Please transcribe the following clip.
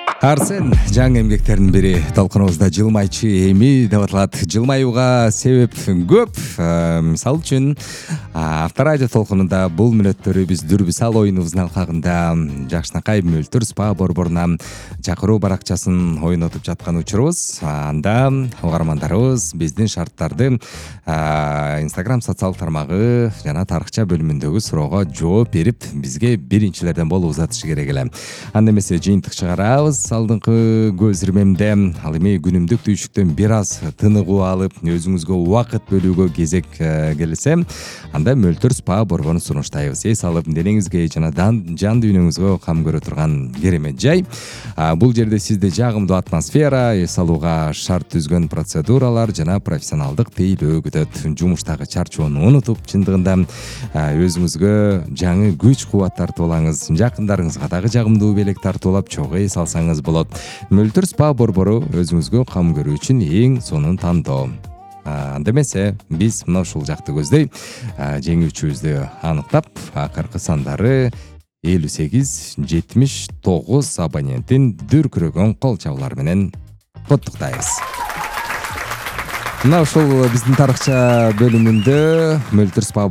Арсен жаңы эмгектердин бири толкунубузда жылмайчы эми деп аталат. Жылмаюуга себеп көп. Мисалы үчүн Авторадио толкунунда бул мүнөттөрү биз Дүрбүсал оюнубуздун алкагында Жакшынакай Мөлтүр спа борборуна чакыруу баракчасын ойнотуп жаткан учурубуз. Анда угармандарыбыз биздин шарттарды Instagram социалдык тармагы жана тарыхча бөлүмүндөгү суроого жооп берип, бизге биринчилерден болуп узатышы керек эле. Анда эмесе жыйынтык чыгарабыз. Алдыңкы көз ирмемде ал эми күнүмдүк түйшүктөн бир аз тыныгуу алып, өзүңүзгө убакыт бөлүүгө кезек келсе, анда Мөлтүр спа борборун сунуштайбыз. Эс алып, денеңизге жана жан дүйнөңүзгө кам көрө турган керемет жай. Бул жерде сизди жагымдуу атмосфера, эс алууга шарт түзгөн процедуралар жана профессионалдык тейлөө күтөт. Жумуштагы чарчоону унутуп, чындыгында өзүңүзгө жаңы күч кубат тартып алаңыз. Жакындарыңызга дагы жагымдуу белек тартуулап, чогуу эс алсаңыз болот. Мөлтүр спа борбору өзүңүзгө кам көрүү үчүн эң сонун тандоо. Анда эмесе биз мына ушул жакты көздөй жеңүүчүбүздү аныктап, акыркы сандары 58-79 абоненттин дүркүрөгөн кол чабуулары менен коттуктайбыз. Мына ушул биздин тарыхча бөлүмүндө Мөлтүр спа